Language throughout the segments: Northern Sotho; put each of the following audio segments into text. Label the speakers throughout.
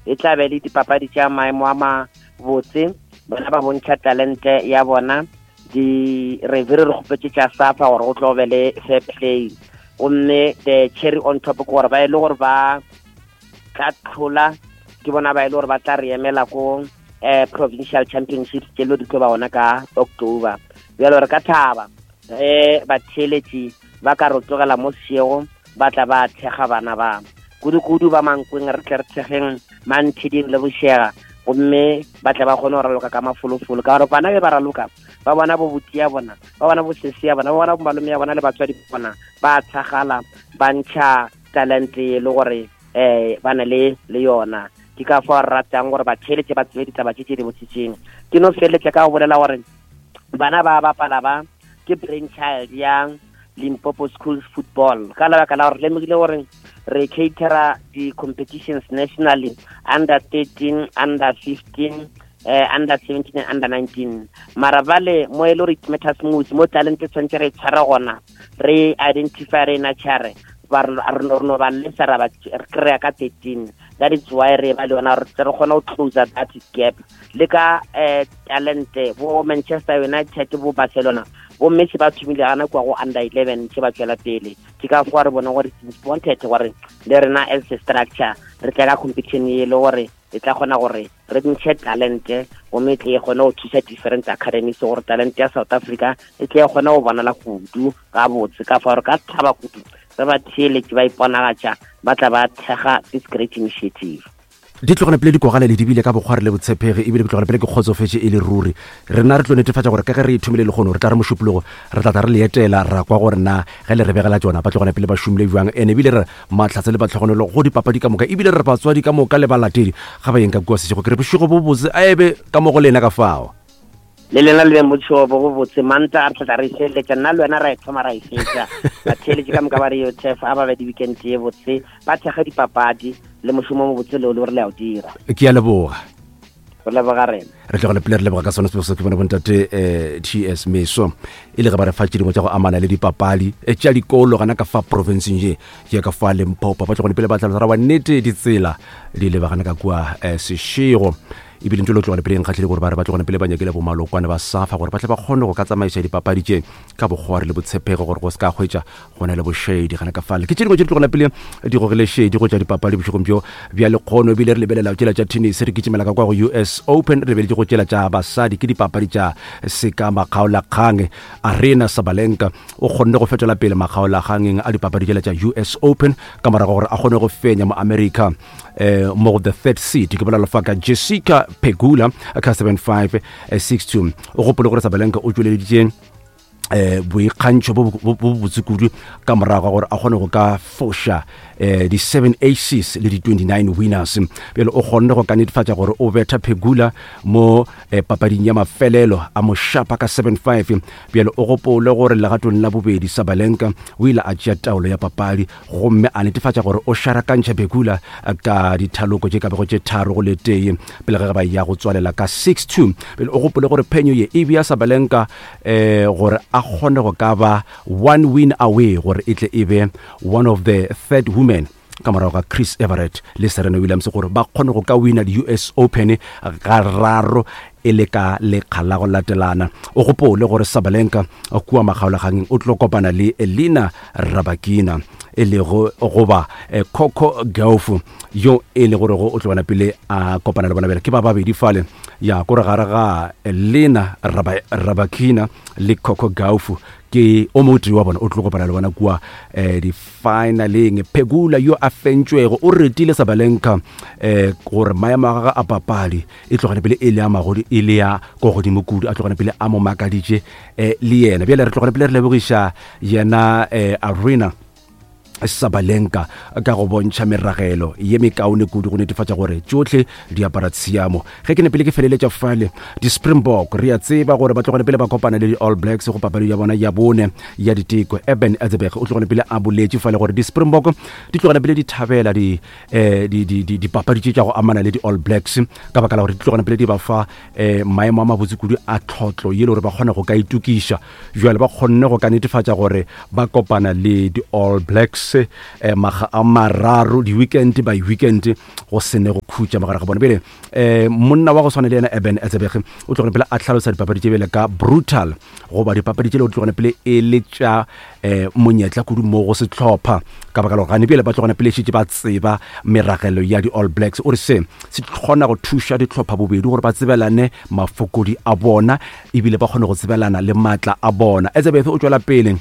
Speaker 1: E tla be le dipapadi tša maemo a mabotse, bona ba bontšha talente ya bona. Di revere re kgopetše tša SAFA gore go tlo be le fair play. Gomme the cherry on top ke gore ba e le gore ba tla tlhola, ke bona ba e le gore ba tla re emela ko eh provincial championships tše lo di tlo ba gona ka October. Bjalo re ka thaba ge batheeletši ba ka re tlogela mo sešego ba tla ba thekga bana ba kudu-kudu ba Mankweng, re tle re thekgeng Manthiding le Bošega, gomme ba tle ba kgone go raloka ka mafolofolo, ka gore bana be ba raloka ba bona bo buti ya bona, ba bona bo sesi ya bona, ba bona bo malome ya bona le batswadi ba bona ba tshagala, ba ntšha talente e le gore um ba na le le yona. Ke ka fao re ratang gore batheeletše ba tsebe ditaba tše tše di botse tšeng. Ke no feleletša ka go bolela gore bana ba bapala ba ke brain child ya Limpopo Schools Football, ka lebaka la gore lemogile gore re catera di-competitions nationally under 13, under 15, under 17 and under 19. Mara bale mo e le gore it matters most, mo talente tshwanetse re tshware gona, re identify, re nurture, ba re no ba lesa ra ba kry-a ka 13. That is why re ba le yona, re tle re kgone go close that gap le ka talente. Bo Manchester United, bo Barcelona, bo Messi ba thomile gana kwa go under 11 tše ba tswela pele. Ke ka fao re bone gore it's important gore le rena as a structure re tle ka competition e le gore e tla kgona gore re ntšhe talente, gomme e tle e kgone go thusa different academies gore talente ya South Africa e tle e kgone go bonala kudu gabotse. Ka fao re ka thaba kudu re ba theeletše ba iponagatša, ba tla ba thekga this great initiative.
Speaker 2: Di tlogela pele dikogale le dibile ka bokgwari le botshepegi, ebile ke tlogela pele ke kgotsofetše e le ruri. Rena re tlo netefatša gore ka ge re ithomile lekgono, re tla re mošupologo re tla tla re le etela, ra kwa gore na ge le re begela tšona ba tlogela pele ba šomile bjang. Ene ebile re mahlatse le batlhogonelo go dipapadi ka moka, ebile re batswadi ka moka le balatedi ga ba yeng ka kua sešego. Ke re bošego bo botse a ebe ka mo go lena ka fao.
Speaker 1: Le lena le beng botšhego bo botse. Manta a re tla re feleletša, nna le wena ra e thoma ra e fetša. Batheeletši ka moka ba re yo tef a ba be di-weekend ye botse, ba thekge dipapadi le mošomo mo botse leo le gore le a o dira.
Speaker 2: Ke a leboga.
Speaker 1: Re leboga rena.
Speaker 2: Re tlogele pele re leboga ka sone sebego se ke bone bontate TS Meso e le ge ba re fa tše dingwe tša go amana le dipapadi tša dikolo gana ka fa provinceng ye ya ka fa Limpopo. Ba tlogele pele ba tlhalosa ra wa nnete ditsela di lebagana ka kua Seshego. Ebile ntho le tlogele pele nkgatlhile gore ba re ba tlogele pele ba nyakile bomalokwane ba SAFA gore ba tle ba kgone go ka tsamaiša dipapadi tše ka bokgwari le botshepego, gore go se ka hwetša go na le bošedi gana ka fale. Ke tše dingwe tše di tlogela pele di gogile šedi go tša dipapadi bošegong bjo bja lekgono. Ebile re lebelela tšela tša tennis, re kitimela ka kwa go US Open, re lebeletše go tšela tša basadi ke dipapadi tša seka makgaolakgang. Aryna Sabalenka o kgonne go fetola pele makgaolakgangeng a dipapadi tšela tša US Open ka morago gore a kgone go fenya mo America mo go the third seed, ke bolela fa ka Jessica Pegula ka 7-5, 6-2. O gopole gore Sabalenka o tšweleditše boikgantšho bo bo botse kudu ka morago ga gore a kgone go ka foša di 7 aces le di 29 winners. Bjale o kgonne go ka netefatša gore o betha Pegula mo papading ya mafelelo, a mo šapa ka 7-5. Bjale o gopole gore legatong la bobedi Sabalenka o ile a tšea taolo ya papadi gomme a netefatša gore o šarakantšha Pegula ka dithaloko tše ka bego tše 3 go le tee pele ge ba ya go tswalela ka 6-2. Pele o gopole gore phenyo ye e bea Sabalenka gore a kgone go ka ba one win away gore e tle e be one of the third women ka morago ga Chris Evert le Serena Williams gore ba kgone go ka wina di-US Open ga raro e le ka lekga la go latelana. O gopole gore Sabalenka kua makgaolagangeng o tlo kopana le Elina Rybakina e lego goba Coco Gauff yo e le gore o tlo bona pele a kopana le bona. Bjale ke ba babedi fale ya kore gare ga Elina Rybakina le Coco Gauff ke o motee wa bona o tlo kopana le bona kua di-finaleng. Pegula yo a fentšwego o retile Sabalenka gore maemo a gagwe a papadi e tlogane pele e le a magodi e le ya ko godimo kudu, a tlogane pele a mo makaditše le yena. Bjale re tlogane pele re lebogiša yena Aryna Sabalenka ka go bontšha meragelo ye mekaone kudu go netefatša gore tšohle di apara tshiamo. Ge ke ne pele ke feleletša fale, di-Springbok re a tseba gore ba tlogane pele ba kopana le di-All Blacks go papadi ya bona ya bone ya diteko. Eben Etzebeth o tlogane pele a boletše fale gore di-Springbok di tlogane pele di thabela dipapadi tše tša go amana le di-All Blacks ka baka la gore di tlogane pele di ba fa maemo a mabotse kudu a tlhotlo ye le gore ba kgone go ka itokiša. Jwale ba kgonne go ka netefatša gore ba kopana le di-All Blacks. se eh, maga a mararo di-weekend by weekend go se ne go khutša mogare ga bone pele eh, monna wa go swana le yena Eben Etzebeth o tlogone pele a hlalosa dipapadi tše bjale ka brutal goba dipapadi tše le o tlogone pele e le tša eh, monyetla kudu mo go sehlopha ka baka la gore gane bjale ba tlogone pele šetše ba tseba meragelo ya di-All Blacks. O re se se kgona go thuša dihlopha bobedi gore ba tsebelane mafokodi a bona ebile ba kgone go tsebelana le maatla a bona. Etzebeth o tšwela pele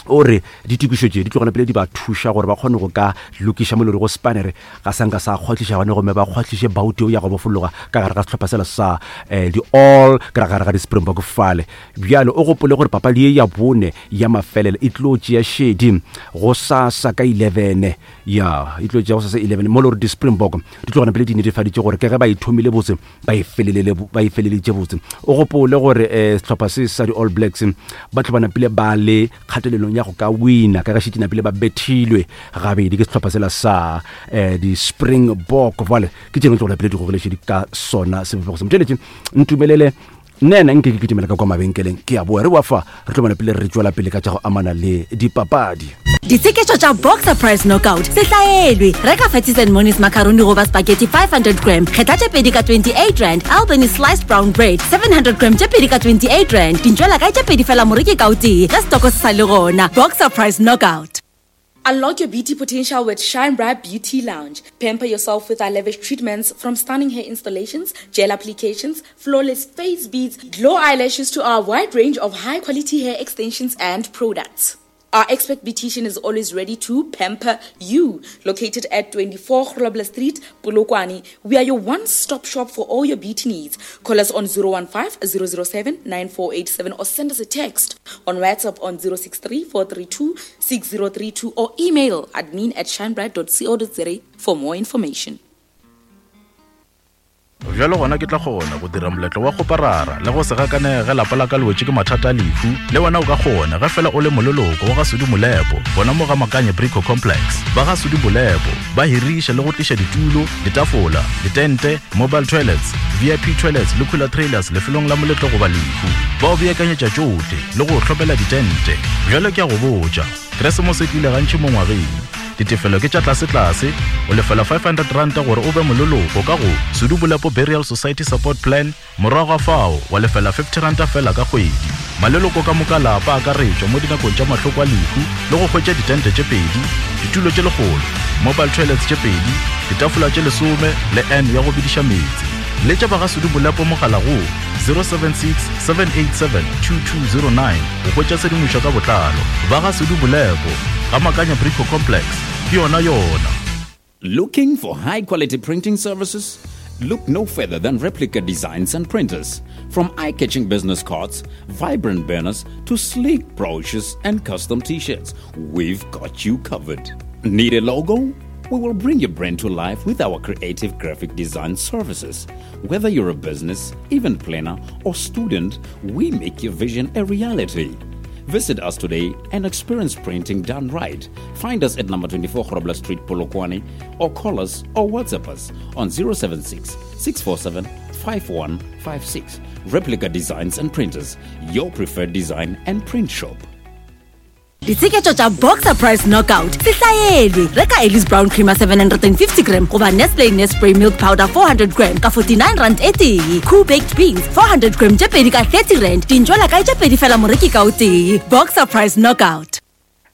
Speaker 2: o re ditokišo tše di tlogela pele di ba thuša gore ba kgone go ka lokiša molori go spanere ga sa nka sa kgwahliša gone gomme ba kgwahliše bauti ya go bofologa ka gare ga sehlopha sela sa eh, di-all ka gare ga di-springbok fale. Bjale o gopole gore papadi ye ya bone ya mafelelo e tlo tšea šedi go sasa ka 11 ya e tlo tšea go sasa 11 mo le gore di-springbok di tlogana pele di netefaditše gore ke ge ba e thomile botse ba e felelele ba e feleleditše botse. O gopole gore um sehlopha se sa di-All Blacks ba tlo ba napile ba le kgatelelong ya go ka wina ka ge šetše napile ba bethilwe gabedi ke sehlopha sela sa um di-Springbok. Bjale ke tše dingwe tse go napile di gogelešedi ka sona sebopego se. Motšweletši ntumelele nna ena nke ke kitimela ka kwa mabenkeleng ke a boa re boa fa re tlo bona pele re tšwela pele ka tša go amana le dipapadi.
Speaker 3: Ditsheketšo tša Boxer Price Knockout se hlaelwe. Reka Fatties and Monies macaroni goba spaghetti 500 gram, kgetha tše pedi ka 28 rand, Albany sliced brown bread 700 gram tše pedi ka 28 rand. Dintšwela kae tše pedi fela moreki ka o tee ge setoko se sa le gona. Boxer Price Knockout.
Speaker 4: Unlock your beauty potential with Shine Bright Beauty Lounge. Pamper yourself with our lavish treatments, from stunning hair installations, gel applications, flawless face beads, glow eyelashes to our wide range of high-quality hair extensions and products. Our expert beautician is always ready to pamper you. Located at 24 Grobler Street, Polokwane, we are your one-stop shop for all your beauty needs. Call us on 015-007-9487 or send us a text on WhatsApp on 063-432-6032 or email admin at shinebright.co.za for more information.
Speaker 5: Bjalo gona ke tla kgona go dira moletlo wa kgoparara le go se gakanege ge lapa la ka le wetše ke mathata a lehu. Le wena o ka kgona ge fela o le moleloko wa ga Sudi Molepo gona mo ga Makanye Brico Complex. Ba ga Sudi Molepo ba hiriša le go tliša ditulo, ditafola, ditente, mobile toilets, VIP toilets le cooler trailers lefelong la moletlo goba lehu. Ba o beakanyetša tšohle le go o hlomela ditente. Bjale ke a go botša, Keresemose e tlile gantši mo ngwageng. Ditefelo ke tša tlasetlase, o lefela R500 gore o be moleloko ka go Sudu Bolepo Burial Society Support Plan, morago ga fao wa lefela R50 fela ka kgwedi. Maleloko ka moka a lapa a akaretšwa mo dinakong tša mahloko a lehu le go hwetša ditente tše pedi, ditulo tše lekgolo, mobile toilets tše pedi, ditafola tše lesome le urn ya go bediša meetse. Letša ba ga Sudu Bolepo mogala go 076 787 2209 go hwetša tshedimošo ka botlalo. Ba ga Sudu Bolepo, ga Makanya Brico Complex, ke yona yona.
Speaker 6: Looking for high quality printing services? Look no further than Replica Designs and Printers. From eye-catching business cards, vibrant banners, to sleek brochures and custom t-shirts, we've got you covered. Need a logo? We will bring your brand to life with our creative graphic design services. Whether you're a business, event planner, or student, we make your vision a reality. Visit us today and experience printing done right. Find us at number 24 Grobler Street, Polokwane, or call us or WhatsApp us on 076 647 5156. Replica Designs and Printers, your preferred design and print shop.
Speaker 3: Ditsheketšo tša Boxer Price Knockout se hlaelwe. Reka Ellis Brown Creamer 750 gram goba Nestle Nespray Milk Powder 400 gram ka 49 rand e tee. Koo Baked Beans 400 gram tše pedi ka 30 rand. Dintšwela kae tše pedi fela moreki ka o tee. Boxer Price Knockout.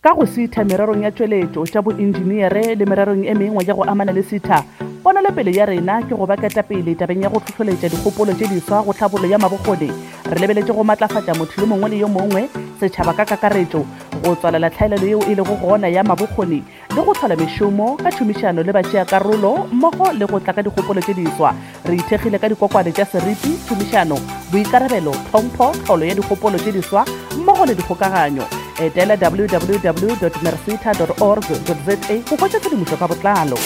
Speaker 7: Ka go sitha mererong ya tšweletšo, tša boentšeneere le mererong e mengwe ya go amana le sitha, ponelopele ya rena ke go ba ketapele tabeng ya go hlohloletša dikgopolo tše diswa go tlhabollo ya mabokgoni. Re lebeletše go matlafatša motho yo mongwe le yo mongwe, setšhaba ka kakaretšo, go tswalela tlhaelelo yeo e lego gona ya mabokgoni le go hlola mešomo ka tšhomišano le batšeakarolo mmogo le go tla ka dikgopolo tše diswa. Re ithekgile ka dikokwane tša seriti, tšhomišano, boikarabelo, tlhompho, tlholo ya dikgopolo tše diswa mmogo le dikgokaganyo. Etela www.mercita.org.za go hwetša tshedimošo ka botlalo.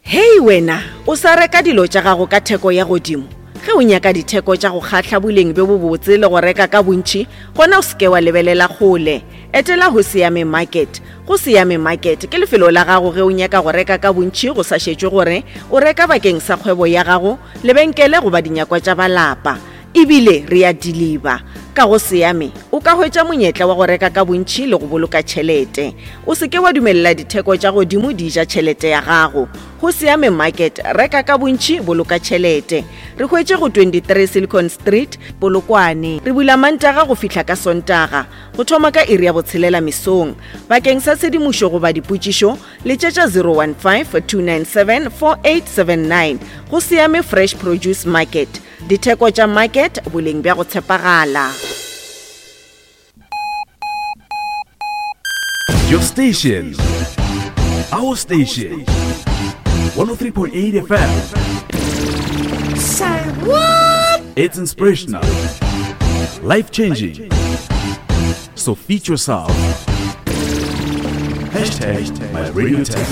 Speaker 8: Hei wena, o sa reka dilo tša gago ka theko ya godimo? Ge o nyaka ditheko tša go kgahla, boleng bjo bobotse le go reka ka bontši, gona o se ke wa lebelela kgole. Etela Hosiame Market. Hosiame Market ke lefelo la gago ge o nyaka go reka ka bontši go sa šetšwe gore o reka bakeng sa kgwebo ya gago, lebenkele goba dinyakwa tša ba lapa. E bile re a diliba. Ka go Seame, o ka hwetša monyetla wa go reka ka bontši le go boloka tšhelete. O se ke wa dumelela ditheko tša godimo di ja tšhelete ya gago. Go Seame Market, reka ka bontši, boloka tšhelete. Re hwetše go 23 Silicon Street, Polokwane. Re bula Mantaga go fihla ka Sontaga, go thoma ka iri ya botshelela mesong. Bakeng sa tshedimošo goba dipotšišo, letšetša 015-297-4879. Go Seame Fresh Produce Market, ditheko tša market, boleng bja go tshepagala.
Speaker 9: Your station. Our station. 103.8 FM.
Speaker 10: Say what?
Speaker 9: It's inspirational. Life changing. So feed yourself. Hashtag my radio tech.